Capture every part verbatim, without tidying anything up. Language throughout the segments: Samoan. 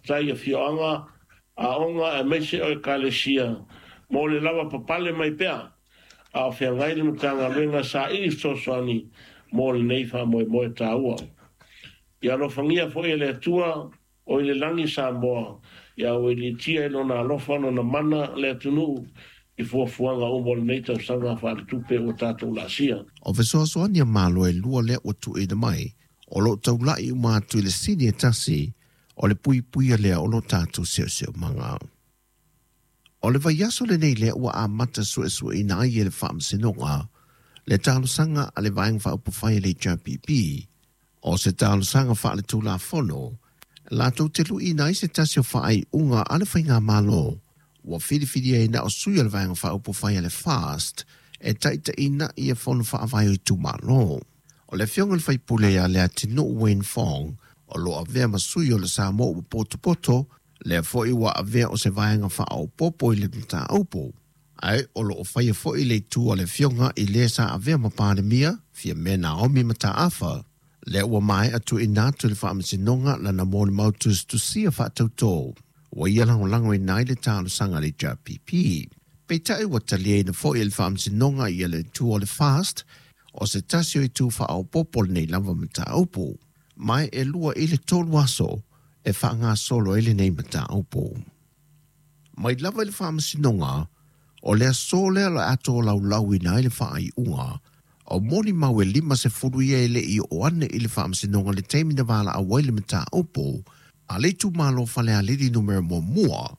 faafetai i afioaga, aoga aemaise o ekalesia mo le lava papale mai pea a o feagai le Matagaluega saili fesoasoani mo lenei faamoemoe taua. Ia alofagia foi e le Atua o i le lagi Samoa, ia auiliitia i lona alofa lona mana le atunuu i fuafuaga uma o lenei tausaga faaletupe ua tatou laasia. O fesoasoani a Malo e lua lea ua tuuina mai, o loo taulai uma atu i le sini e tasi, o le puipuia lea o lo tatou siosiomaga. O le vaiaso lenei lea ua amata suesueina ai e le Faamasinoga le talosaga a le Vaega Faaupufai a le H R P P, o se talosaga faaletulafono latou te luiina ai se tasi o faaiuga a le Faigamalo ua filifilia ai na o sui o le Vaega Faaupufai a le FAST e taitaiina ia fono faavae o itumalo. O le afioga i le faipule ia Leatinuu Wayne Fong o lo avea ma sui o le Samoa ua potopoto, lea foi ua avea o se vaega faaopoopo i le mataupu. Ae o loo faia foi le itu a le afioga i le sa avea ma Palemia, Fiame Naomi Mataafa. Lea ua maea tuuina atu i le Faamasinoga lana molimau tusitusia faatautō. Ua ia lagolagoina ai le talosaga a le H R P P. Peitai ua taliaina foi e le Faamasinoga ia le itu o le FAST o se tasi o itu faaopoopo lenei lava mataupu. Mai e lua i le tolu aso e faagasolo ai lenei mataupu. Mai lava i le Faamasinoga, o le aso lea o le a tolaulauina ai le faaiuga o molimau e lima sefulu ia e le i oo ane i le Faamasinoga le taimi na valaau ai le mataupu a le itumalo Falealili numera muamua,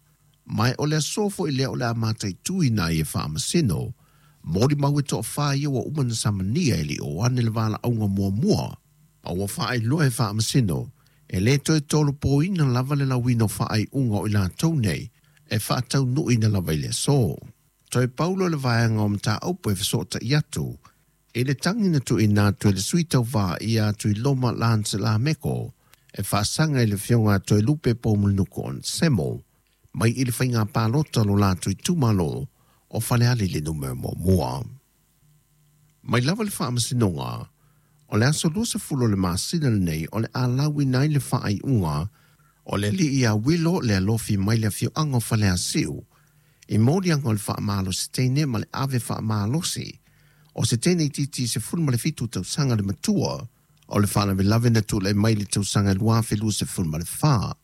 mai o le aso foi lea o le a mataituina ai e Faamasino molimau e toafā ia ua uma na samania e le i oo ane le valaauga muamua. A ua faailoa e Faamasino e le toe tolopoina lava le lauina o faaiuga o i latou nei e faataunuuina lava i le aso. Toe paulo le vaega o mataupu e fesootai atu i le tagi na tuuina atu e le sui tauvā ia Tuiloma Lance Lameko e faasaga i le afioga a Toelupe Poumulinuku Onesemo mai i le faiga palota lo latou itumalo o Falealili numera muamua. Mai lava le Faamasinoga, o le aso luasefulu o le masina lenei o le a lauina ai le faaiuga o le alii ia Wilo le alofi mai le afioaga o Faleasiu i moliaga o le faamalosi teine ma le ave faamalosi o se teine itiiti sefulu ma le fitu tausaga le matua o le faalavelave na tulai mai le tausaga lua afe luasefulu ma le fa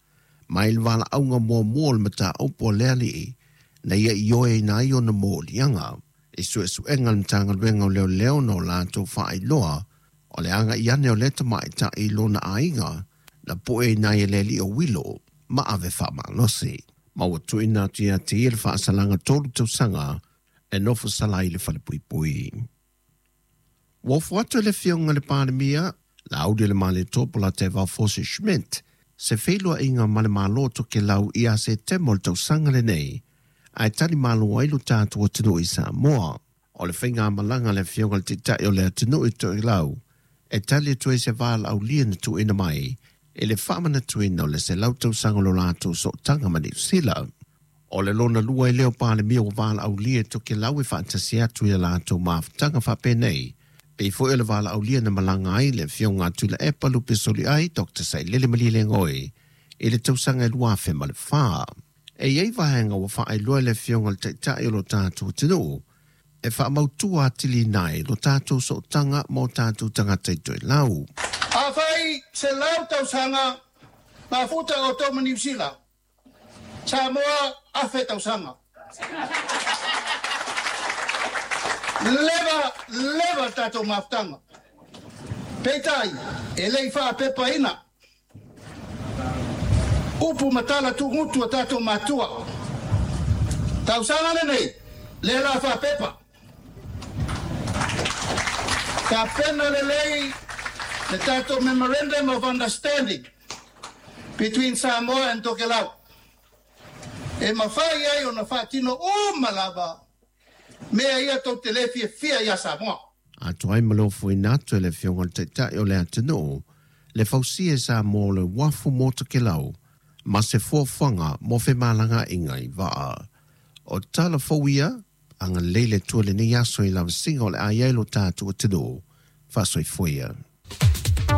mai le valaauga muamua o le mataupu a le alii na ia ioeina ai ona moliaga i suesuega le Matagaluega o Leoleo na o latou faailoa o le agai ane o le tamaitai i lona aiga na pueina ai e le alii o Wilo ma ave faamalosi. Ma ua tuuina atu ia te ia le faasalaga tolu tausaga e nofo sala i le falepuipui. Ua ofo atu e le afioga i le Palemia, Lauli le Malietoa Polataivao Fosi Schmidt, se feiloaiga ma le Malo o Tokelau ia Setema o le tausaga lenei, ae tali malo ai lo tatou atunuu i Samoa. O le faigamalaga a le afioga i le Taitai o le atunuu i Tokelau, e tali atu ai se valaaulia na tuuina mai i le faamanatuina o le selau tausaga o lo latou sootaga ma Niu Sila. O le lona lua i leo Palemia ua valaaulia e Tokelau e faatasi atu i a latou mafutaga faapenei. Pei foi o le valaaulia na malaga ai le afioga a Tuilaepa Lupesoliai Doctor Sailele Malielegaoi i le tausaga e lua afe ma le fa. E iai vaega ua faailoa e le afioga i le Taitai o lo tatou atunuu e faamautua atili ai lo tatou sootaga ma o tatou tagata i Toelau. Afai selau tausaga mafuta o outou ma Niu Sila, Samoa afe tausaga. Leva, leva tatou mafutaga. Peitai, e le i faapepaina upu ma tala tugutu a tatou matua. Tausaga lenei, le la faapepa. Tapena lelei le tatou Memorandum of Understanding between Samoa and Tokelau. E mafai ai ona faatino uma lava mea ia tou te le fiafia ia Samoa. Atoa ai ma le ofoina atu e le afioga i le Taitai o le atunuu le fausia e Samoa o le uafu mo Tokelau ma se fuafuaga mo femalagaaiga i vaa. O tala fou ia, agalelei le Atua i lenei aso i lavasiga o le a i ai lo tatou atunuu. Faasoifua ia.